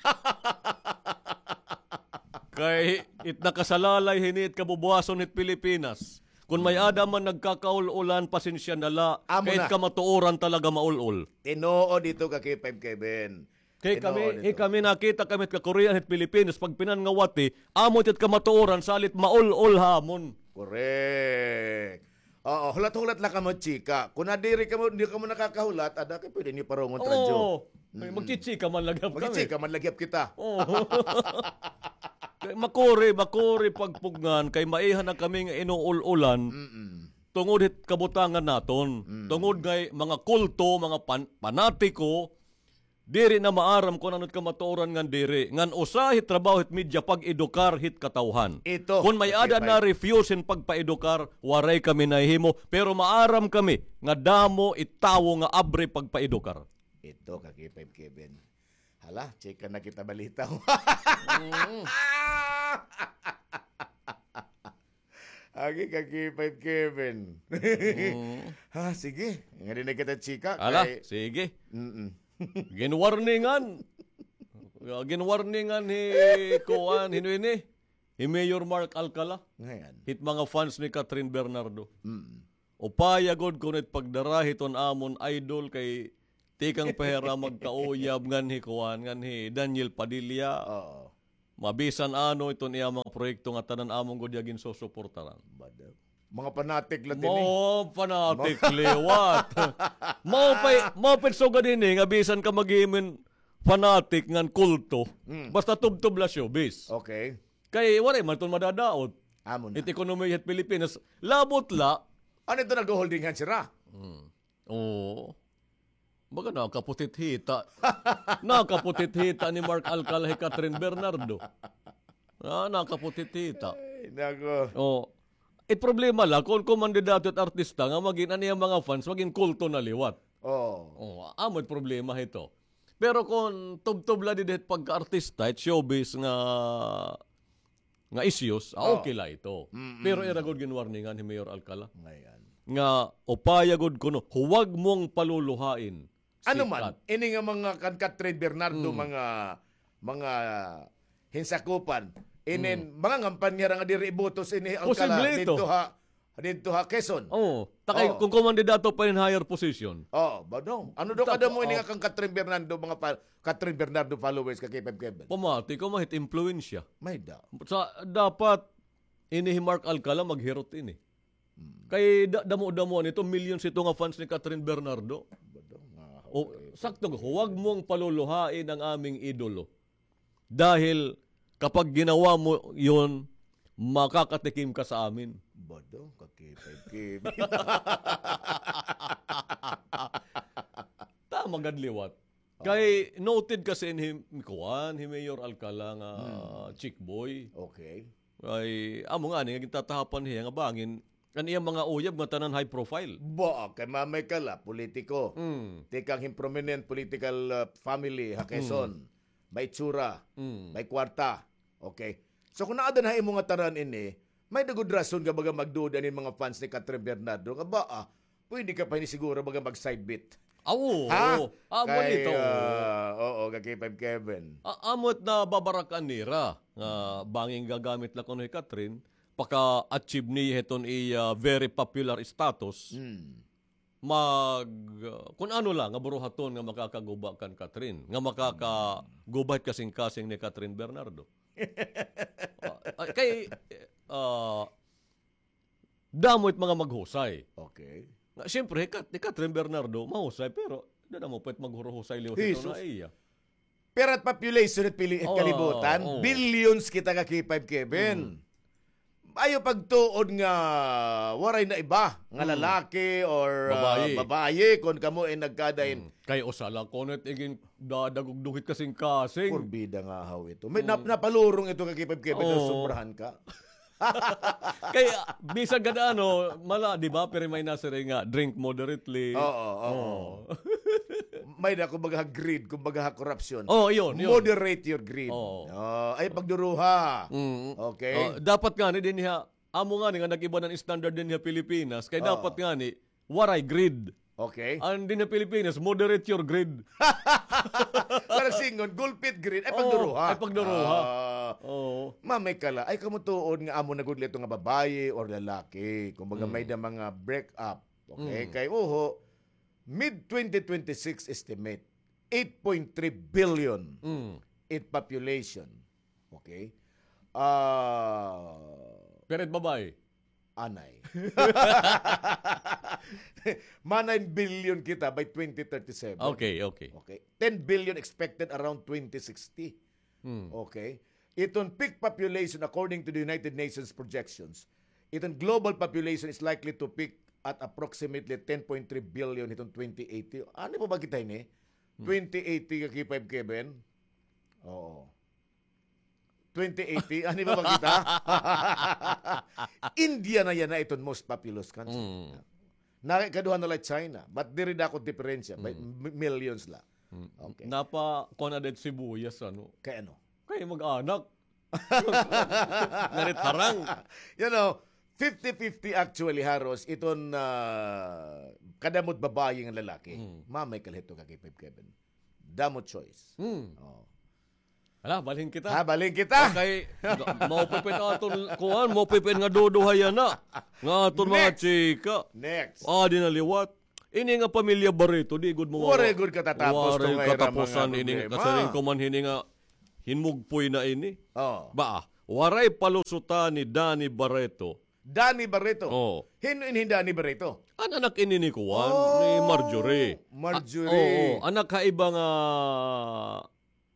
Kay it nakasalalay hini it kabubuwason hit Pilipinas. Kun may-ada man nagkakaul-ulan, pasensya na la. Kay it kamatuoran talaga maul-ol. Tinuod ito ka K five Kevin. Kay kami, kay kami nakita kami it kakurian hit Pilipinas, pagpinangawati, amo it kamatuoran, salit maul-ol ha amon. Correct. Oo, hulat-hulat la kamo, chika. Kun diri kamo, di kamo nakakahulat, ada kay pwede niyo parungon radyo. Oo. Magchichika man la gihap kami. Magchichika man la gihap kita. Oo. Kay makuri, makuri pagpugngan, kay maiha na kami nga inuul-ulan. Tungod hit kabutangan naton. Tungod ngay mga kulto, mga pan-, panatiko, Diri na maaram kon ano it kamatuoran ngan diri. Ngan usa hit trabaho hit media pag-edukar hit katawhan. Ito, kon may-ada na refuse hin pagpaedukar, waray kami nahihimo. Pero maaram kami nga damo it tawo nga abre pagpaedukar. Ito, ka K five Kevin. Hala, chika na kita balita. Mm. Agi ka K five Kevin. Mm. Ha, sige. Nga din na kita chika. Ala, kay sige. Mm-mm. Ginwarningan. Ginwarningan hi kuan, hino ini? Hi Mayor Mark Alcala. Ngayon. Hit mga fans ni Catherine Bernardo. Mm. Upaya gud kuno it pagdara hiton amon idol kay tikang pa hira magkauyab ngan hi kuan, ngan hi Daniel Padilla. Oo. Mabisan ano iton iya mga proyekto nga tanan amon gud iya ginsusuportaran. Bado. Mga fanatic la tini. Mga fanatic liwat. Mao pa'y, mao pa'y sugad ini nga bisan ka maghihimin fanatic ngan kulto. Mm. Basta tubtob la showbiz. Okay. Kay waray man iton madadaot. Amo na. It ekonomiya hit Pilipinas, labot la. Ano ito, nag-holding hands sira? Hmm. Oo. Baga nakaputit hita. Nakaputit hita ni Mark Alcala hi Catherine Bernardo. Ah, nakaputit hita. Ay, nako. Oh. It problema la, kon kumandidato it artista nga magin an iya mga fans, magin kulto na liwat. Oo. Oh, amo it problema hito. Pero kon tubtob la didi hit pagka-artista, it showbiz nga, nga issues, ah, okay la ito. Mm-mm. Pero ira gud ginwarningan hi Mayor Alcala. Ngayon. Nga upaya gud kuno, huwag mong paluluhain si Kat. Ano man, ini nga mga kan Catherine Bernardo, mga, mga hinsakupan, inin, mga ngampan niya nga diri ibotos ini Alcala dito ha, dito ha Quezon. Oo. Takay, kung kumandidato pa in higher position. Oo, ba, no? Ano daw kadamo ini nga kang Catherine Bernardo, mga pa-, Catherine Bernardo followers ka K five Kevin? Pamati ko, mahit impluwensya. May da. Sa, dapat, ini hi Mark Alcala, maghirot ini. Hmm. Kay da-, damo-damo nito, millions ito nga fans ni Catherine Bernardo. Ba daw nga, sakto, huwag mong paluluhain ang aming idolo. Dahil kapag ginawa mo yun, makakatikim ka sa amin. Ba daw, ka K five Kevin. Tama gad liwat. Kay noted kasi in hi, kuan, hi Mayor Alcala nga chick boy. Okay. Ay, amo ngani nga gintatahapan hiya nga bangin, an iyang mga uyab nga tanan high profile. Ba, kay mamay ka la, politiko. Mm. Tikang hin prominent political, uh, family ha Quezon. Mm. May itsura, mm, may kwarta. Okay. So, kung naa dinha imo nga tanan ini, may da gud rason nga baga magduda nin mga fans ni Catherine Bernardo nga ba, ah, pwede ka pa ini siguro baga mag-side bet. Ah, oo. Ha? Ah, kay, ah, oo, ka K five Kevin. A-, amo it nababarakan nira nga bangin gagamit la kuno hi Catherine, paka-achieve niya hiton iya very popular status. Hmm. Mag, uh, kun ano la nga buruhaton nga makakaguba kan Catherine, nga makakaguba hit kasingkasing ni Catherine Bernardo. Ah, ah, kay, ah, damo it mga maghusay. Okay. Nga, siyempre, hi Kat-, hi Catherine Bernardo, mahusay, pero damo pa it maghuruhusay liwat ito na iya. Pero it population it pili-, it kalibutan, billions kita ka K five Kevin. Mm. Ayaw pagtuod nga waray na iba, nga lalaki or, ah, babaye, kon kamo ay nagkadain. Mm. Kay usa la kuno it igin dadagugdugit kasingkasing. Porbida nga haw ito. May nap-, napalurong ito ka K five Kevin, sobrahan ka. Kay, ah, bisan gad ano, mala, di ba? Pero may nasiring nga, drink moderately. Oo, oo. Oo. May na, kumbaga, greed, kumbaga, korupsyon. Oh, yun, yun. Moderate your greed. Oo. Ah, ay, pagduruha. Mm. Okay. Oh, dapat ngani dinhi ha, amo ngani nga nag-iba na an standard dinhi ha Pilipinas, kay dapat ngani, waray greed. Okay. An dinhi ha Pilipinas, moderate your greed. Parang singon, gulpit greed, ay pagduruha. Oo, ay pagduruha. Ah. Oo. Mamay ka la, ay kamo tuod nga amo na gud la ito nga babaye or lalaki. Kumbaga, may da mga break up. Okay, kay uho, mid twenty twenty-six estimate, eight point three billion it population. Okay? Ah, pero it babaye? Anay. Ma nine billion kita by twenty thirty-seven. Okay, okay. Okay. Ten billion expected around twenty sixty. Hmm. Okay. Iton peak population according to the United Nations projections, iton global population is likely to peak at approximately ten point three billion hiton twenty eighty. Ano pa ba kita ini? Twenty eighty ka K five Kevin? Oo. Twenty eighty? Ano ba ba kita? India na yana iton most populous country. Mm. Na, ikaduha na la China. But diri dako diferensya. By Mm. mi-, millions la. Mm. Okay. Napa, kuan na dahil sibuyas, ano? Kay ano? Kay mag-anak. Ngarit harang. You know, fifty fifty actually, haros, iton, ah, kadamot babayi nga lalaki. Mm. Mamay kalhito ka kay Five Kevin. Damo choice. Mm. Oh. Hala, balhin kita. Ha, balhin kita. Okay, maupipin aton, kuan, maupipin nga duduha yana. Nga aton mga Next. chika. Next. Ah, di na liwat. Ini nga pamilya Barreto, di gud mo Waray gud katatapos to waray nga ira mga katapusan ini nga problema. Kasiring ko man hini nga hinmugpoy na ini. Oh. Ba, waray palusutan ni Danny Barreto. Danny Barreto? Oh. Hin-, hin-, hin Danny Barreto? An anak ini ni kuan, Oh, ni Marjorie. Marjorie. Ah, oo, anak ha iba nga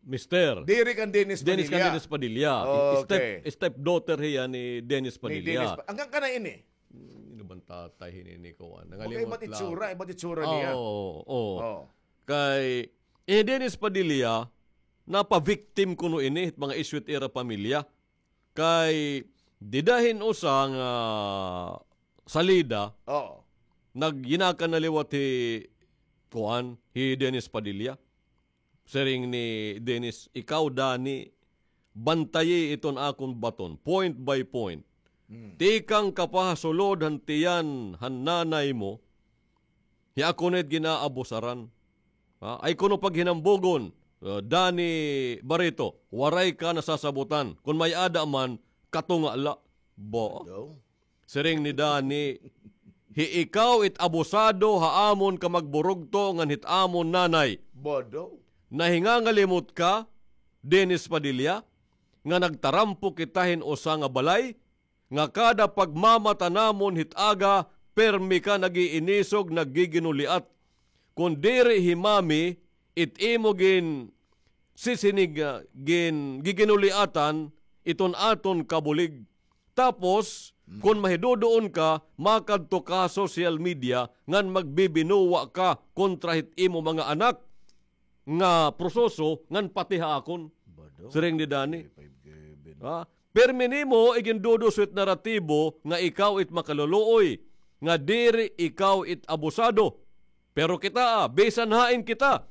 mister. Diri kan Dennis Dennis kan Padilla. Dennis Padilla. Okay. Step, stepdaughter hiya ni Dennis Ni Padilla. Dennis Pa-, hanggang kana ini? Hmm, ano bang tatay hini ni kuan? Okay, Nangalimot ibat lang. itsura, ibat itsura Ah, niya. oo, oo. Oh. Kay, eh, Dennis Padilla, napa-victim kuno ini, mga issue it ira pamilya. Kay, dida hin usa nga salida, Oo. nagyinakan na liwat hi, kuan, hi Dennis Padilla. Siring ni Dennis, "Ikaw, Danny, bantayi iton akon baton, point by point. Hmm. Tikang ka pa ha sulod han tiyan han nanay mo, hi ako na it gin-aabusaran. Ha? Ay kuno paghinambugon, uh, Danny Barreto, waray ka nasasabutan. Kon may-ada man, katunga la." Bo. Daw? Siring ni Danny, "Hi ikaw it abusado ha amon ka magburugto ngan hit amon nanay. Bodo. Nahingangalimot ka, Dennis Padilla, nga nagtarampo kita hin usa nga balay, nga kada pagmamata namon hit aga, permi ka nag-iinisog, naggiginuliat. Kon diri hi Mami, it imo gin-, sisinig, ah, gin-, giginuliatan, iton aton kabulig. Tapos, Mm. kon mahiduduon ka, makadto ka ha social media ngan magbibinuwa ka kontra hit imo mga anak nga proseso ngan pati ha akon." Bado. Siring ni Danny. Five Kevin. Ha? Permi nimo igindudos it naratibo nga ikaw it makaluluoy, nga diri ikaw it abusado. Pero kita, ah, bisan hain kita.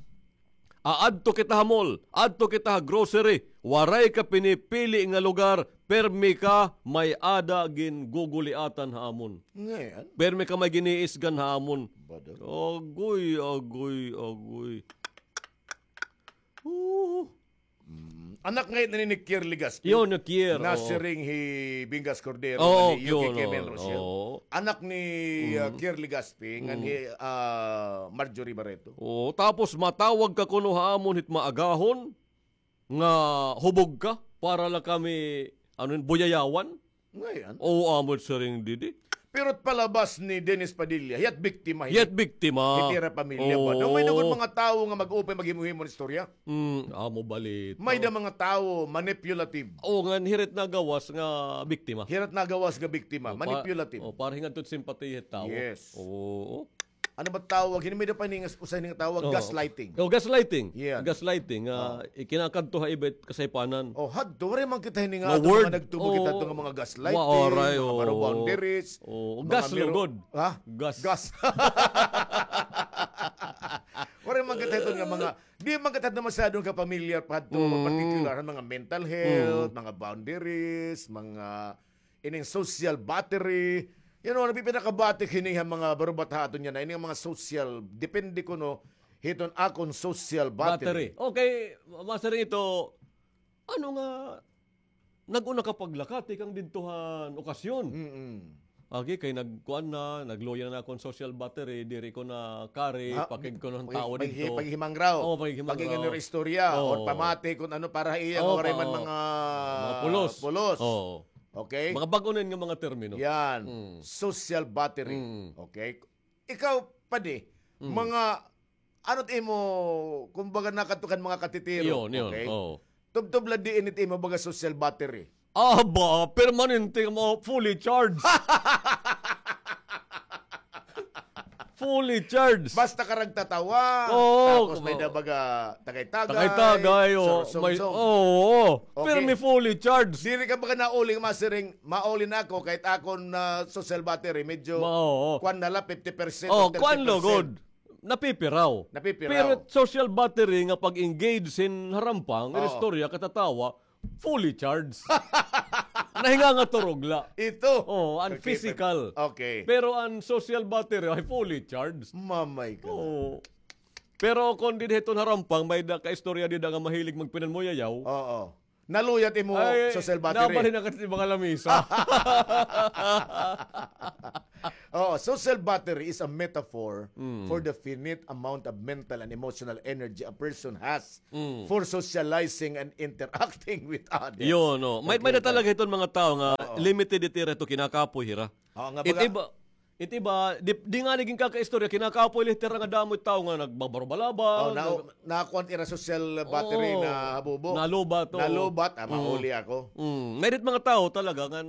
Aadto kita ha mall, adto kita ha grocery, waray ka pinipili nga lugar, permi ka may-ada ginguguliatan ha amon. Ngayon? Permi ka may giniisgan ha amon. Bado. Agoy, agoy, agoy. Oo. Mm. Anak ngay-an ini ni Kier Legaspi. Yo, ni Kier, oo. Nasiring hi Bingas Cordero, Oo, ni Yuki yun, Kevin oo, Rochelle. Oo. Anak ni, ah, Mm. Kier Legaspi, ngan Mm. hi, ah, Marjorie Barreto. Oo, tapos matawag ka kuno ha amon hit maagahon nga hubog ka para la kami, ano yun, buyayawan? Ngayon? Oo, amo it siring didi. Pero it palabas ni Dennis Padilla, hiya't biktima, Hiya't biktima. Hit ira pamilya ba? Oo. Daw may dugon mga tawo nga mag-upay maghimo-himo hin istorya. Mm, amo balita. May da mga tawo manipulative. Oo, ngan hira it nagawas nga biktima. Hira it nagawas nga biktima, O, pa-, manipulative. O, para hingadto it simpatiya hit tawo. Yes. Oo. Ano ba tawag? Hini may da pa ini nga, usa ini nga tawag, Oo. gaslighting. Oh, gaslighting. Yeah. Gaslighting, ah, Oo. ikinakadto ha iba it kasaypanan. Oh, hadto, waray man kita hini nga Nga ato word. mga nagtubo kita Oo. ato nga mga gaslighting, Wa-, waray, mga oo. baro boundaries, Oo. mga Gas, miro-, lugod. Ha? Gas. Gas. Waray man kita ito nga mga, di man kita ito masyadong kapamilyar pa hadto, Mm. particular, mga mental health, Mm. mga boundaries, mga ining social battery. You know, nagpipinakabatik hini ha mga barubataha aton yana. Ining mga social, depende kuno hiton akon social battery. Battery. Okay, Master, ito, ano nga, nag-una ka paglaka tikang didto han okasyon. Mm-mm. Agi, kay nagkuan na, nagluya na akon social battery, diri ko na carry, Ah, pakig ko ng pag-, tao pag-, didto. Paghihimangraw. Oo, paghihimangraw. Paghihingan istorya, Oo. or pamati kung ano para iya nga Oo, waray man oo. mga Mga pulos. pulos. Oo. Okay? Mga bag-o na nga mga termino. Yan. Mm. Social battery. Mm. Okay? Ikaw, padi, Mm. mga, ano't imo, kumbaga, nakatukan mga katitiro. Yun, yun. Okay? Oo. Tubtob la diin it imo, baga, social battery. Aba, permanente mo, fully charged. Fully charged. Basta ka ragtatawa. Oo, tapos may oo. Da baga tagay-tagay. Tagay-tagay, oo. May, surusumsum. Oo. Okay. Pirmi fully charged. Diri ka baga nauli nga masiring, mauli na ako, kahit akon, ah, social battery, medyo ma-, oo. Kuan na la, fifty percent o thirty percent. Oo, kuan lugod. Napipiraw. Napipiraw. Pero social battery nga pag-engage hin harampang, oo. Istorya, katatawa, fully charged. Nahingangaturog la. Ito. Oo, an physical. Okay. Pero an social battery ay fully charged. Mamay ka. Oo. Pero kon dinhi hiton harampang, may-ada ka istorya dida nga mahilig magpinanmuyayaw. Oo. Naluyat imo social battery. Ay, nabalhin na ka sa mga lamisa. Oo, social battery is a metaphor, mm, for the finite amount of mental and emotional energy a person has, mm, for socializing and interacting with others. Yun, no. May, may-ada talaga hiton mga tawo nga, oo, limited it ira hito kinakapoy hira. Oo, nga it baga iba, it iba, di, di ngani ginkakaistorya, kinakapoy la it ira nga damo it tawo nga nagbabarubalaba, oh, na, nag- nakuan ira social battery, oo, na habubo. Nalubat, oo. Nalubat, ah, mauli ako. Mm. May-ada it mga tawo talaga nga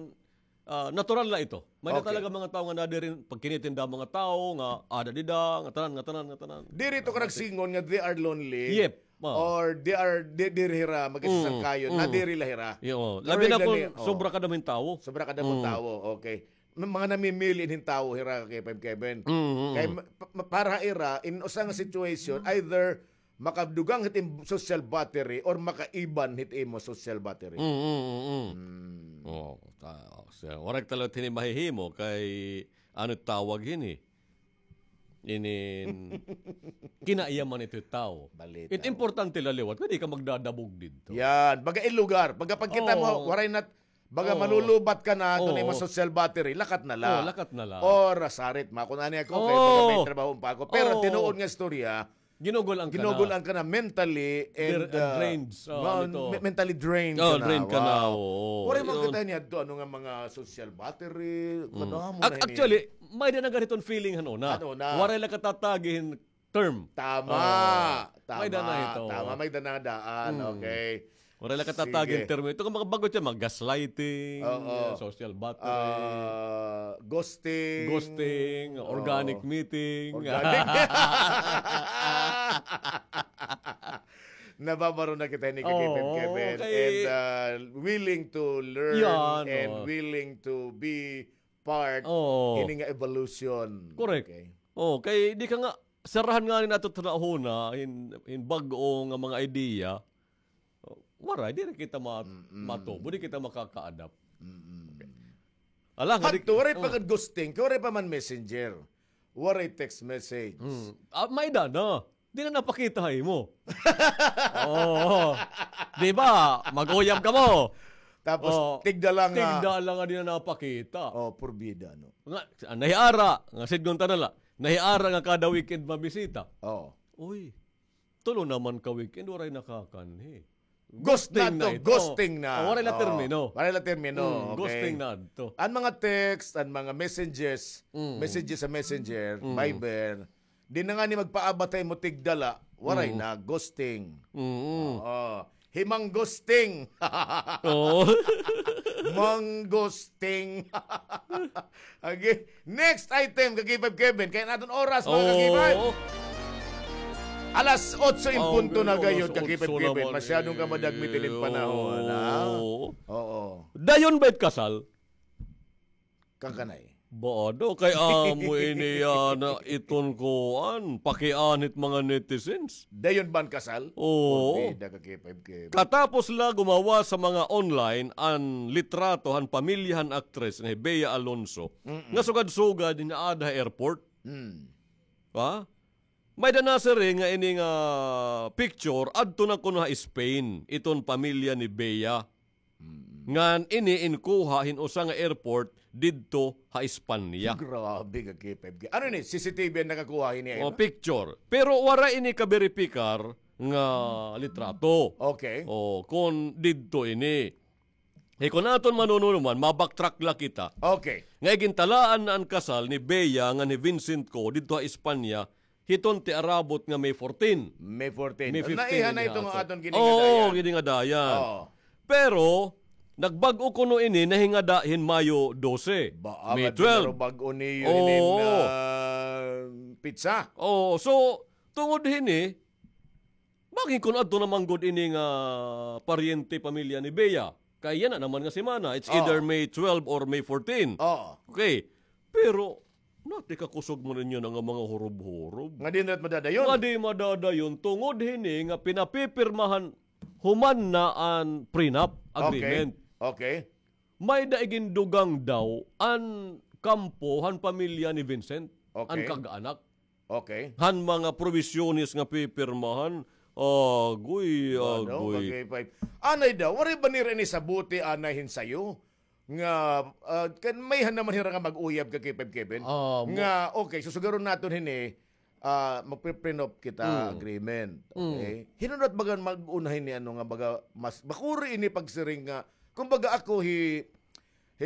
ah, natural la ito. May-ada talaga mga tawo nga nadiri, pagkinitinda mga tawo nga ada dida, nga tanan, nga tanan, nga tanan. Diri ito ka nagsingon nga they are lonely. Yep. Ah. Or they are, di-, diri hira, mm, magkasasangkayon. Mm. Nadiri la hira. Yo, labi na kon sobra kadamo hin tawo. Sobra kadamo hin tawo, okay. May mga namimili hin tawo hira kay Five Kevin. Mm, mm. Kay ma-, pa-, para ira, in usa nga situation, either makadugang hit im social battery or makaiban hit imo social battery. Mm, mm, mm, mm. Mm. Oh, ta-, oh, so, waray talaga hini mahihimo kay ano tawag hini? Inin kinaiyaman ito tawo. Balita. It importante la liwat. Pwede ka magdadabog didto. Yan. Baga in lugar. Baga pagkita mo, oo, waray na Baga malulubat ka na, oo, ito na imo social battery, lakat na la. Oo, lakat na la. Or, ah, sarit, makon ani ako, kay baga may trabaho pa ako. Pero tinuod nga istorya, ginugul-an ka na. Ginugul-an ka na mentally and, ah, drained. Oo, mentally drained ka na. Drained ka na, oo. Waray man kita niadto, ano nga mga social battery, kadamo na hini. Actually, may-ada na gani hiton feeling han una. Han una. Waray la katatagi hin term. Tama. Oo. Tama. May-ada na ito. Tama, may-ada na daan. Mm. Okay. Waray la katatagi hin term. Ito nga mga bag-o dyan, mga gaslighting, social battery. Ah, ghosting. Ghosting, organic meeting. Organic. Nababaro na kita ni Kevin, oo, Kevin. Kay and, ah, willing to learn and willing to be part hini nga evolution. Correct. Okay. Oh, kay di ka nga, sarahan ngani nato ta hunahuna hin, hin bag-o nga mga idea. Waray, diri kita ma-, matubo, di kita makaka-adapt. Okay. Ala, nga di hadto, waray pa gad ghosting, kay waray pa man messenger. Waray text message. Mm. Ah, may-ada na. Di na napakita ha imo. Oo. Di ba? Mag-uyab kamo. Tapos, tigda la nga. Tigda la nga di na napakita. Oh, purbida, no? Nga, ah, nahiara, nga sidngon ta na la. Nahiara nga kada weekend mabisita. Oo. Uy, tulo naman ka weekend, waray nakakanhi. Ghosting na ito. Ghosting na. Oh, waray la termino. Waray la termino. Mm, okay. Ghosting na ito. An mga text, an mga messages, messages sa Messenger, Viber, di na ngani magpaabat ha imo tigda la, waray na, ghosting. Mm. Oo. Hi Mang Ghosting. Oo. Mang Ghosting. Okay. Next item, ka K five Kevin. Kay an aton oras, mga ka K five. Oo. Alas otso in punto na gayod, ka K five Kevin. Masyadong ka madagmit inin panahon, ha? Oo. Oo. Dayon ba it kasal? Kakanay. Ba, ano? Kay amo ini yana iton kuan, pakianhi hit mga netizens. Dayon ba an kasal? Oo. Porbida, ka K five Kevin. Katapos la gumawas sa mga online an litrato han pamilya han aktres nga hi Bea Alonzo, nga sugad-sugad inaada ha airport. Mm. Ha? May-ada nasiring nga ini nga picture, adto na kuno ha Spain, iton pamilya ni Bea. Mm. Ngan ini inkuha hin usa nga airport didto ha Espanya. Grabe ka, K five K. Ano ini? C C T V an nakakuha hini? O, picture. Pero waray ini kaberipikar nga litrato. Okay. O, kon didto ini. Kay kon aton manunuman, ma-backtrack la kita. Okay. Nga igintalaan na an kasal ni Bea ngan hi Vincent Co didto ha Espanya, hiton tiarabot nga May fourteen. May fourteen. May fifteen. Naiha na ito nga aton giningadayan. Oo, giningadayan. Oo. Pero, Nagbag-o kuno ini, nahingada hin Mayo dose, May twelve. Bag-o niyo hinin, ah, pitsa. Oo, so, tungod hini, bangin kon adto naman gud ini nga paryente, pamilya ni Bea. Kay yana naman nga semana, it's either May twelve or May fourteen. Oo. Okay. Pero, nati kakusog man ninyo na nga mga hurob-hurob. Nga di na madadayon. Nga di madadayon, tungod hini nga pinapipirmahan human na an prenup agreement. Okay. May-ada igindugang daw an kampo han pamilya ni Vincent, an kag-anak. Okay. Han mga probisyones nga pipirmahan, agoy, agoy. Anay daw, waray ba nira ini sabuti anay hin sayo? Nga, ah, kan may han naman hira nga mag-uyab ka kay Five Kevin. Nga, okay, susugaron naton hini, ah, magpe-prenup kita agreement. Okay? Hinunot baga mag-una hini, ano nga, baga, mas, makuri ini pagsiring nga, kumbaga ako hi,